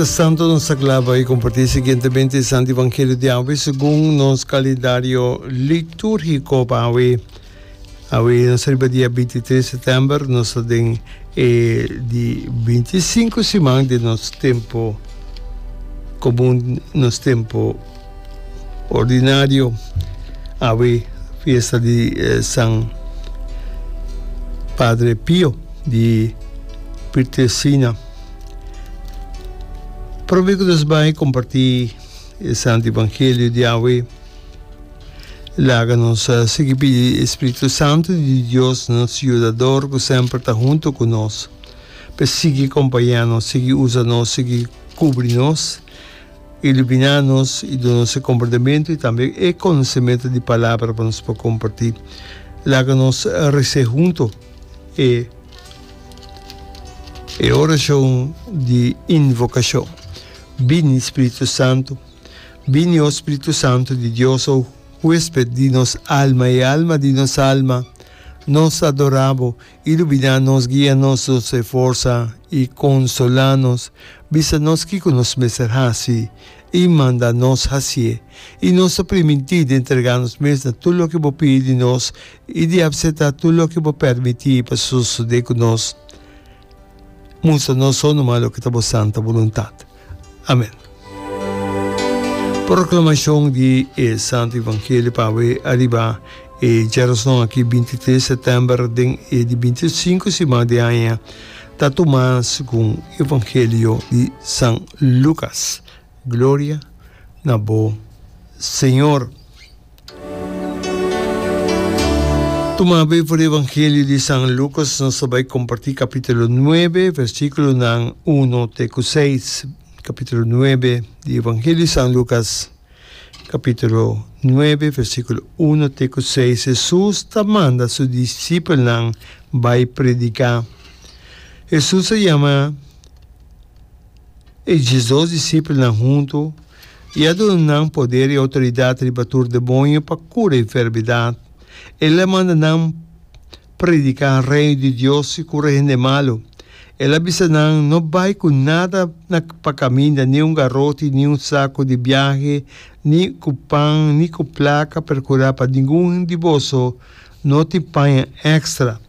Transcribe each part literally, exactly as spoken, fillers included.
Mientras tanto nos ta kla pa kompartí siguientemente e Santo Evangelio di awe segun nos kalendario litúrgiko pa awe. Awe nos riba dia binti tres sèptèmber, nos ta den e di binti sinku siman di nos tempu komun, nos tempu ordinario. Awe fiesta di San Padre Pio di Pietrelcina. Prome ku nos bai kompartí e Santo Evangelio di awe, laga nos sigui pidi e Spiritu Santu di Dios, nos Yudador ku semper ta huntu ku nos, pa e sigui kompañá nos, sigui usa nos, sigui kubri nos, iluminá nos i duna nos e komprendementu i tambe e konosementu di Palabra pa nos por kompartí. Laga nos res'é huntu e e orashon di invokashon. Bini, Spiritu Santu. Bini, o Spiritu Santu di Dios, o huésped di nos alma i alma di nos alma. Nos ta adorá bo. Iluminá nos, guia nos, nos e forsa i konsolá nos. Bisa nos kiko nos mester hasi i manda nos hasié. I nos ta primintí di entregá nos mes na tur loke bo pidi di nos i di apseptá tur loke bo permití pa sosodé ku nos. Mustra nos so numa loke ta bo santa boluntat. Amen. Proklamashon di e Santu Evangelio pa awe ariba e djarason aki binti tres sètèmber den e di binti sinku siman di aña ta tumá segun Evangelio di San Lukas. Gloria na bo, Señor. Tuma be for di Evangelio di San Lucas, nos ta bai comparti capítulo nuebe, versículonan uno te cu seis. Capítulo nuebe di Evangelio di San Lucas, capítulo nuebe, versículo uno te cu seis. Jesús ta manda su discipelnan bai predica. Jesús a yama E diesdos disipelnan huntu i a duna nan poder i outoridat riba tur demoño pa kura enfermedat. El a manda nan prediká Reino di Dios i kura hende malu. El a bisa nan, No bai ku nada na pa kaminda, ni un garoti, ni un saku di biahe, ni ku pan, ni ku plaka, perkurá pa ningun di boso no tin paña èkstra.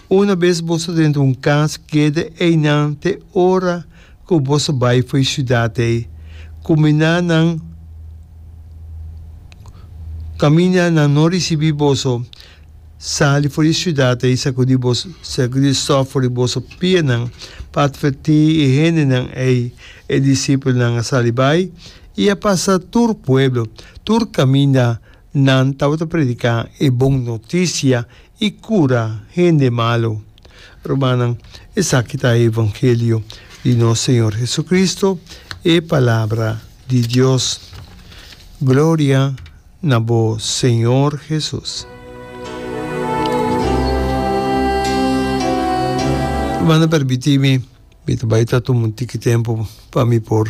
Una bes boso drenta un kas, keda einan te ora ku boso bai for e siudat ei. Kuminá nan kaminda nan no risibí boso. Sali for di e siudat ei, sakudí boso sakudí stòf for di boso pianan pa atvertí e hendenan ei. E disipelnan a sali bai i a pasa tur pueblo, tur kaminda. Nan tabata prediká e bon notisia i kura hende malu. Rumannan, esaki ta e evangelio di nos Señor Jesucristo, e Palabra di Dios. Gloria na bo, Señor Jesus. Rumannan, permití mi, mi ta bai ta tuma un tiki tempu pa mi por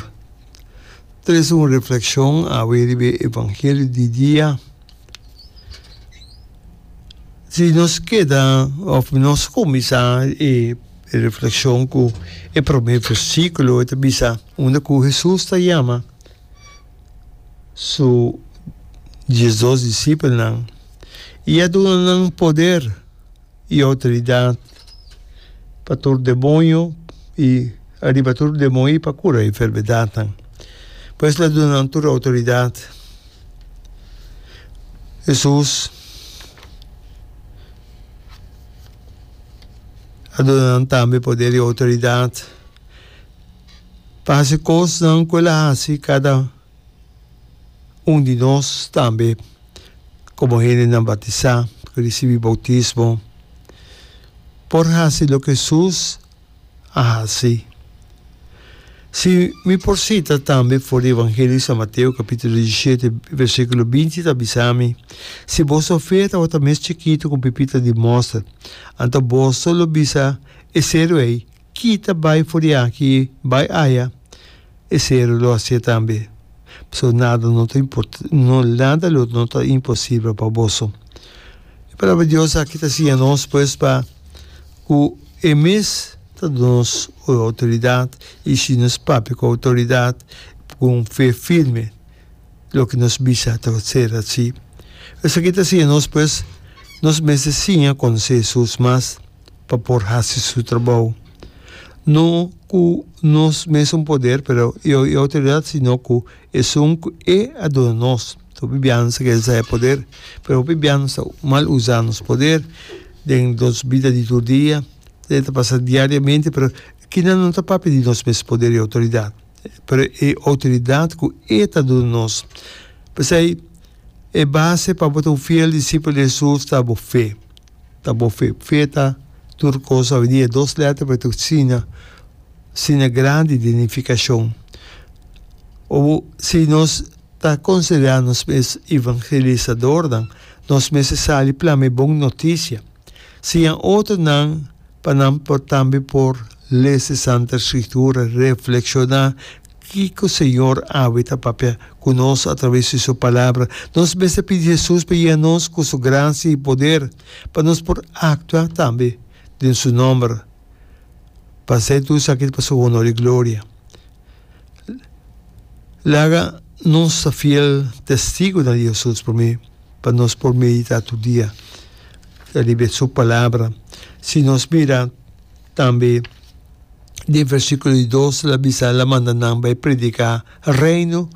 Trese un reflekshon awe riba e evangelio di dia. Si nos keda òf nos kuminsá e reflekshon ku e promé versíkulo, e ta bisa unda ku Hesus ta yama su diesdos disipelnan i a duna nan poder. i outoridat pa tur demoño i ariba tur demoño i pa kura enfermedatnan. Pues el a duna nan tur outoridat. Hesus a duna nan tambe poder i outoridat pa hasi kosnan ku el a hasi kada Un di nos tambe komo hendenan batisá ku risibí boutismo por hasi loke Hesus a hasi. Si mi por sita tambe for di Evangelio di San Mateo kapítulo diesishete versíkulo binti ta bisa mi, Si boso fe tabata mes chikitu ku un pipita di mòster, anto boso lo bisa e seru ei, Kita bai for di aki bai aya, e seru lo hacié tambe. Pasobra nada no ta no nada lo no ta imposibel pa boso. E palabra di Dios aki ta siña nos pues pa cu e mes ta duna nos outoridat i si nos papia ku outoridat ku un fe firme loke nos bisa ta ser hasí. Esaki ta siña nos pues nos mester siña konosé Hesus mas pa por hasi su trabou. No ku nos mesun poder pero i outoridat sino ku esun ku e a duna nos. Hopi biaha nos ta kere sa e poder pero hopi biaha nos ta mal usa nos poder den nos bida di tur dia. E ta pasa diariamente pero kinan no ta papia di nos mes poder i outoridat pero e outoridat ku e ta duna nos. P'esei e base pa bo ta un fiel disipel di Hesus ta bo fe. Ta bo fe. Fe ta tur kos awendia. Dos lèter pero ta asina asina grandi di nifikashon. O si nos ta konsiderá nos mes evangelisadornan nos mester sali plama e bon notisia. Siña otronan pa nan por tambe por lesa e Santa Escritura, reflekshoná kiko Señor awe ta papia ku nos atraves di Su Palabra. Nos mester pidi Hesus pa yega nos ku Su grasia i poder pa nos por aktua tambe den Su nòmber, pa hasi tur esaki pa Su honor i gloria. Laga nos ta fiel testigunan di Hesus promé pa nos por meditá tur dia riba Su Palabra. Si nos mira tambe den versíkulo di dos, el a bisa, El a manda nan bai prediká Reino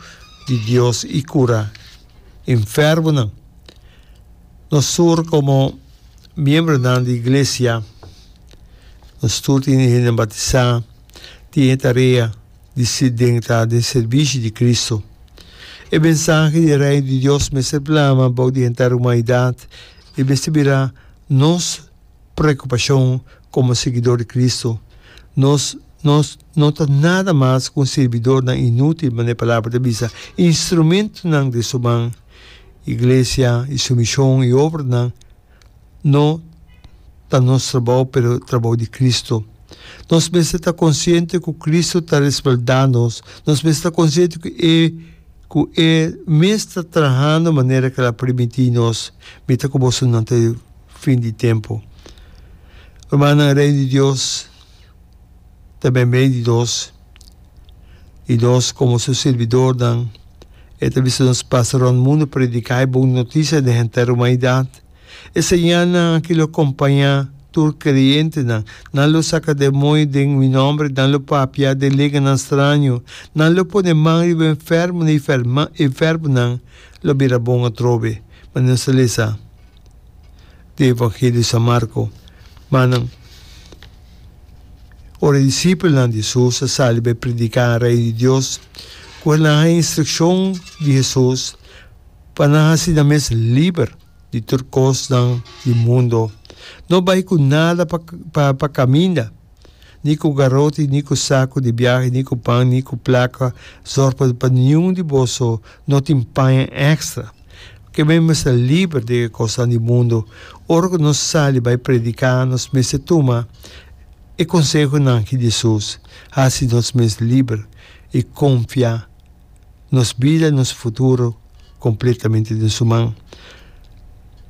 di Dios i kura enfermonan. Nos tur komo miembronan di iglesia, nos tur tin hende batisá, tin e tarea di den ta den servishi di Cristo. E mensahe di Reino di Dios mester plama bou di henter humanidat i mester bira nos preokupashon komo siguidor di Cristo. Nos nos no ta nada mas ku un sirbidornan inútil, manera e Palabra ta bisa, instrumentonan den su man. Iglesia i su mishon i obranan no ta nos trabou, pero trabou di Cristo. Nos mester ta konsiente ku Cristo ta respaldá nos. Nos mester ta konsiente ku e ku e mes ta trahando manera ku el a primintí nos, Mi ta ku bosonan te fin di tempu. Rumannan, Reino di Dios ta meimei di nos, i nos komo su sirbidornan, e ta bisa nos pasa rònt mundu prediká e bon notisia den henter humanidat. E señalnan aki lo kompañá tur kreyentenan, Nan lo saka demoño den mi nòmber, nan lo papia den lenganan straño, nan lo pone man riba enfermonan i enfermonan lo bira bon atrobe. Manera nos ta lesa den Evangelio di San Marko. Manan, ora e disipelnan di Hesus a sali bai prediká Reino di Dios, ku nan haña instrukshon di Hesus pa nan hasi nan mes liber di tur kosnan di mundo. No bai ku nada pa pa kaminda, ni ku garoti, ni ku saku di biahe, ni ku pan, ni ku plaka. Zòrg pa pa niun di boso no tin paña èkstra. Ke men mester liber di e kosnan di mundo. Ora ku nos sali bai prediká, nos mester tuma e konsehonan ki di Hesus, hasi nos mes liber i konfia nos bida i nos futuro kompletamente den su man.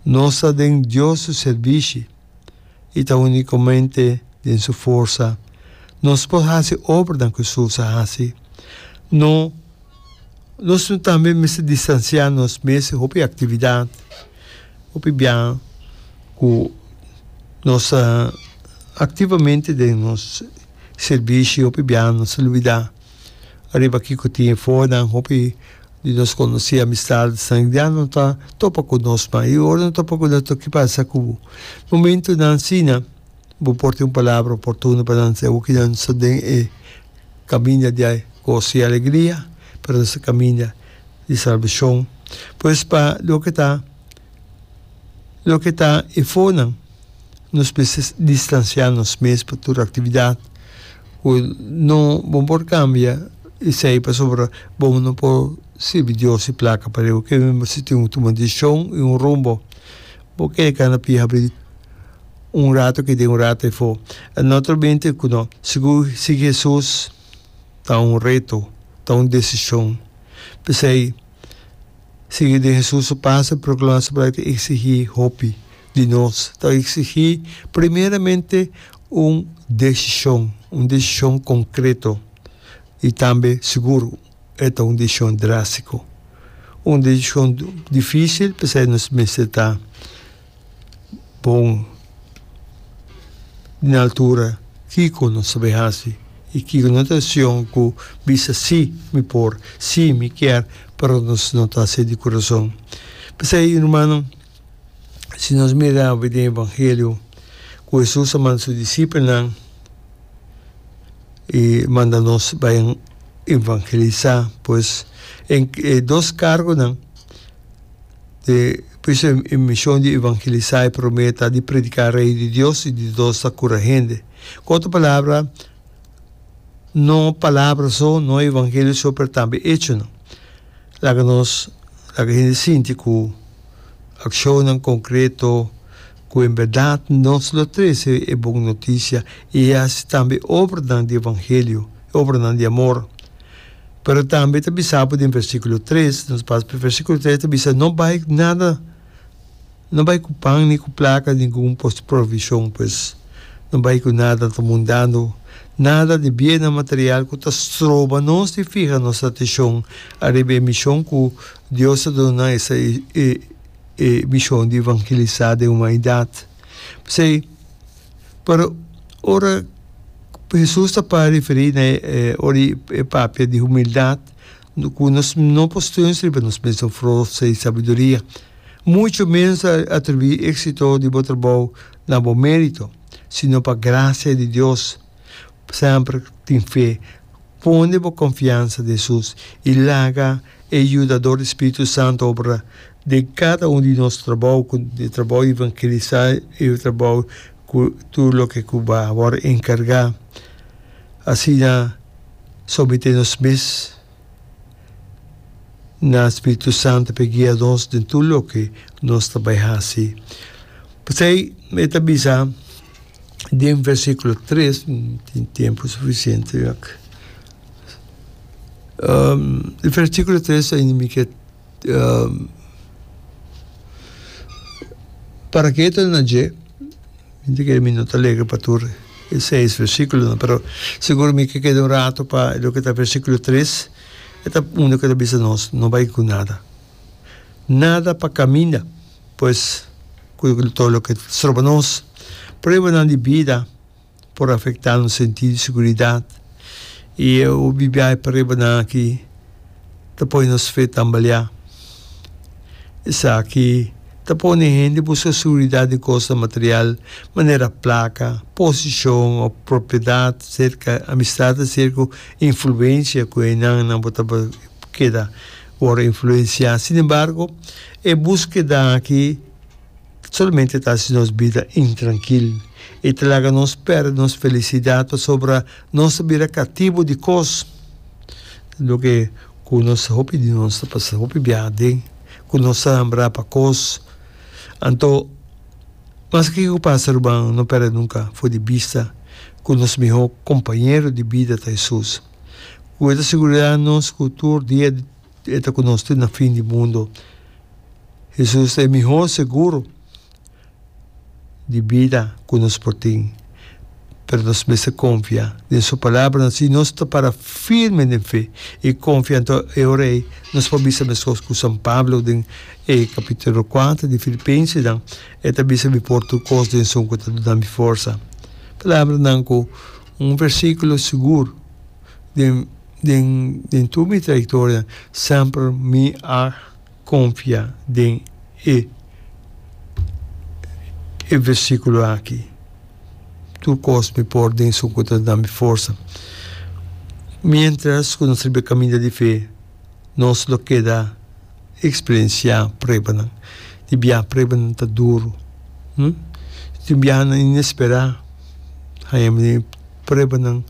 Nos ta den Dios su sirbishi i ta únikamente den su forsa nos por hasi obranan ku Hesus a hasi. No, nos tambe mester distansiá nos mes di hopi aktividat, hopi biaha ku nos ta aktivamente den nos sirbishi, hopi biaha nos ta lubidá Ariba kiko tin e fonan hopi di nos konosí amistadnan ya no ta topa ku nos mas i ora no topa ku nos ki pasa ku bo momentunan asina bo por tin un palabra oportuno pa nan sey awor nan sta den e kaminda di goso i alegria pero nos ta kaminda di salbashon pues pa loke ta loke ta e fonan. Nos mester distansiá nos mes pa tur aktividat ku no bo por kambia esei pasobra bo no por sirbi Dios i plaka pareu ke bo mester tin un tuma desishon i un rumbo. Bo kere kana pia habri un rato aki den un rato afó. Naturalmente ku no sigur sigui Hesus ta un reto, ta un desishon. P'esei sigui den Hesus su paso i proklamá su palabra ta eksigí hopi. Di nos ta exigí primeramente Un desishon, un desishon konkreto i tambe sigur e ta un desishon drástiko. Un desishon difísil, p'esei nos mester ta bon na altura kiko nos ta bai hasi i kiko no ta desishon ku bisa sí mi por, sí mi kier, pero nos no ta hasi di kurason. P'esei, rumannan, si nos mira awe den Evangelio ku Hesus a manda su disipelnan i manda nos bai evangelisá, pues e dos kargonan di pues e mishon di evangelisá e promé ta di prediká Reino di Dios i di dos ta kura hende. Ku otro palabra, no palabra so, no evangelio so, pero tambe echonan. Laga nos laga hende sinti ku akshonnan konkreto ku en bèrdat nos lo trese e bon notisia i hasi tambe obranan di evangelio, obranan di amor. Pero tambe ta bisa bo den versíkulo tres, nos pasa pa versíkulo tres, ta bisa no bai nada. No bai ku pan ni ku plaka, ningun provishon, pues no bai ku nada ta mundando, nada di biennan material ku ta stroba nos di fiha nos atenshon ariba e mishon ku Dios a duna, esta e e mishon di evangelisá den humanidat. P'esei, pero ora Hesus ta para referí na e ora e papia di humildat, ku nos no por steun riba nos mesun forsa i sabiduria. Mucho ménos atribuí éksito di bo trabou na bo mérito, sino pa grasia di Dios. Semper tin fe, pone bo konfiansa den Hesus i laga e Yudador di Spiritu Santu obra den kada un di nos trabou, ku e trabou di evangelisá i e trabou ku tur loke ku bo a wòrdu enkargá. Asina someté nos mes na Spiritu Santu p'e guia nos den tur loke nos ta bai hasi. P'esei e ta bisa den versíkulo tres, tin tempu sufisiente wak. Um, versíkulo tres ainda mi ke um, para ke ta na dje. Mi ta kere mi no ta lega pa tur e seis versíkulonan, pero sigur mi ke keda un rato pa loke ta versíkulo tres, e ta unda ku ta bisa nos no bai ku nada. Nada pa kaminda, pues ku tur loke ta stroba nos. Pruebanan di bida por afektá nos sentido di siguridat, i e hopi biaha e pruebanan aki ta pone nos fe tambaleá. Esaki ta pone hende buska siguridat den kosnan material manera plaka, posishon òf propiedat serka amistat aserka ku influensia ku einan nan bo ta keda wòrdu influensiá. Sinembargo, e búskeda aki solamente ta hasi nos bida intrankil i ta laga nos pèrdè nos felisidat pasobra nos ta bira katibu di kos. Loke ku nos hopi di nos ta pasa hopi biaha aden, ku nos ta hambrá pa kos. Anto, maske kiko pasa ruman, no pèrdè nunka for di bista ku nos mihó kompañero di bida ta Hesus, ku e ta sigurá nos ku tur dia e ta ku nos te na fin di mundu. Hesus ta e mihó seguro di bida ku nos por tin, pero nos mester konfia den su palabranan. Si nos ta para firme den fe i konfia, anto e ora ei nos por bisa meskos ku San Pablo den e kapítulo kuater di Filipensenan, e ta bisa, Mi por tur kos den esun ku ta duna mi forsa. Palabranan ku un versíkulo sigur den den den tur mi trayektoria semper mi a Konfia den e e versíkulo aki, Tur kos mi por den esun ku ta da mi forsa. Miéntras ku nos riba e kaminda di fe, nos lo keda eksperensiá pruebanan. Di biaha pruebanan ta duru. Tin biahanan inesperá, haña mi pruebanan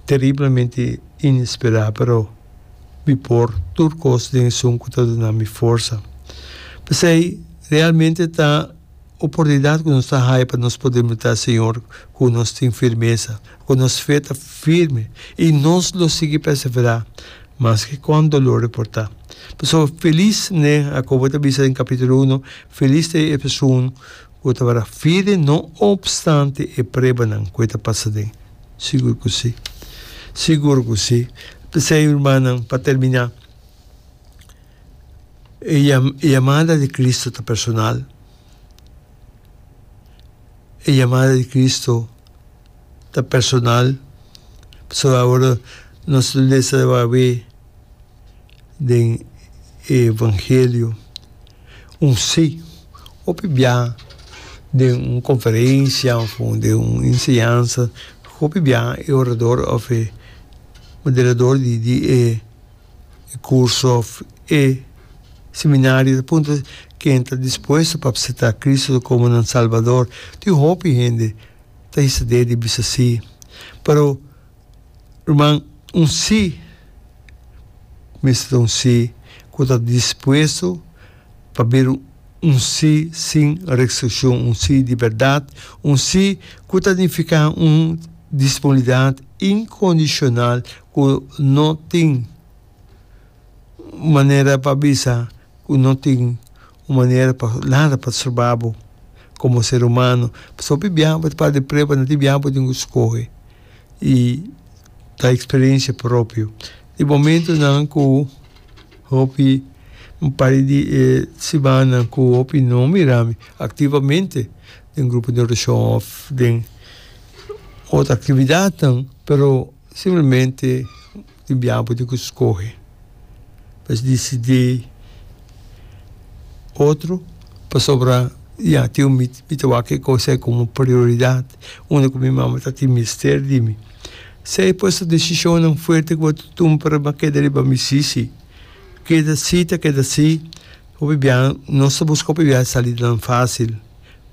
teriblemente inesperá, pero. Mi por tur kos den esun ku ta duna mi forsa. P'esei, realmente ta oportunidat ku nos ta haya pa nos por demostrá Señor ku nos tin firmesa, ku nos fe ta firme i nos lo sigui perseverá maske kuan dolor e por ta. Pasobra felis, ne, Jakobo ta bisa den kapítulo uno, felis ta e esun Ku ta para firme no opstante e pruebanan ku e ta pasa aden. Sigur ku si. Sigur ku si. P'esei, rumannan, pa terminá, e yamada di Cristo ta personal. E yamada di Cristo ta personal. Pasobra awor nos ta lesa awe den e Evangelio un sí. Hopi bia den un konferensia òf den un enseñansa, hopi bia e orador òf e moderador di di e kurso òf e seminario ta puntra ken ta dispuesto pa aseptá Cristo komo nan Salbador. Tin hopi hende ta hisa dede i bisa sí. Pero ruman, un sí mester ta un sí ku ta dispuesto pa bira un sí sin restrikshon, un sí di bèrdat, un sí ku ta nifiká un disponibilidat inkondishonal ku no tin manera pa bisa ku no tin un manera pa nada pa stroba bo komo ser humano. Pasobra hopi biaha bo ta para di prueba, no tin biaha bo tin ku skohe i ta eksperensia propio. Di momentonan ku hopi un par di e simannan ku hopi no mira mi aktivamente den grupo di orashon òf den otro aktividatnan, pero simplemente tin biaha bo tin ku skohe pa disidí otro pasobra ya tin un mi ta wak e kos ei komo prioridat unda ku mi mama ta tin mester di mi. Esei pues ta desishonnan fuerte ku bo ta tuma pero bo a keda riba mi sisi. Keda si ta keda si. Hopi biaha nos ta buska hopi biaha salidanan fásil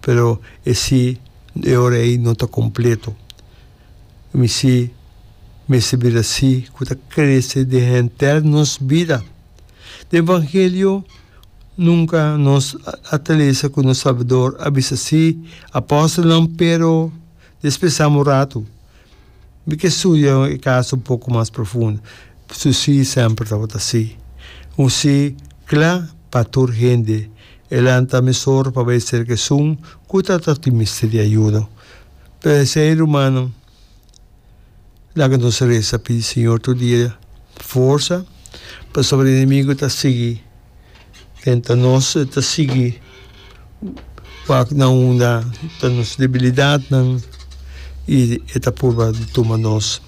pero e si e ora ei no ta kompleto. Mi si mester bira si ku ta krese den henter nos bida. Den evangelio nunka nos a ta lesa ku nos Salbador a bisa si apòstelnan pero despues un ratu mi ke studia e kaso un poko mas profundo. Su si semper tabata si. Un si kla pa tur hende. E lanta mesora pa bai serka esun ku ta tin mester di ayuda. P'esei, rumannan, laga nos resa pidi Señor tur dia forsa pasobra enemigu ta sigui tenta nos, e ta sigui wak na unda ta nos debilidatnan i e ta purba di tuma nos.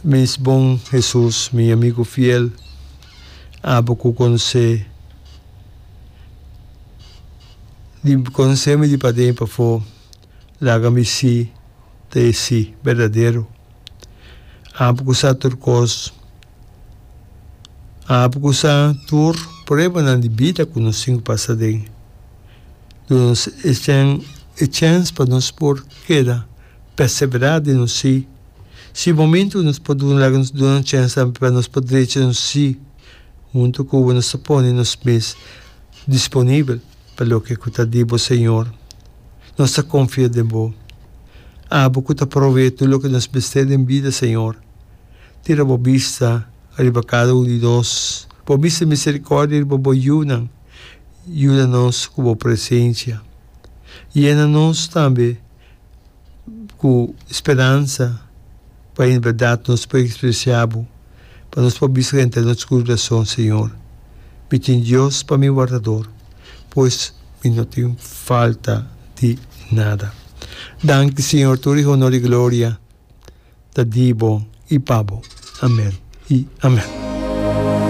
Mis bon Hesus, mi amigu fiel, abo ku konosé di konosé mi di paden i pafó. Laga mi sí ta e sí berdadero. Abo ku sa tur kos. Abo ku sa tur pruebanan di bida ku nos tin ku pasa aden. Duna nos e e chèns pa nos por keda perseverá den nos sí. Si momentu nos por duna laga nos duna nos chèns tambe pa nos por drecha nos sí huntu ku bo nos ta pone nos mes disponibel pa loke ku ta di bo Señor. Nos ta konfia den bo. Abo ku ta provee tur loke nos mester den bida, Señor. Tira bo bista riba kada un di nos. Bo bista di miserikòrdia riba bo yunan. Yuda nos ku bo presensia. Yena nos tambe ku speransa pa en bèrdat nos por ekspresiá bo, pa nos por bisa henter nos kurason, Señor, mi tin Dios pa mi wardador, pues mi no tin falta di nada. Danki, Señor, tur e honor i gloria ta di bo i pa bo. Amèn i amèn.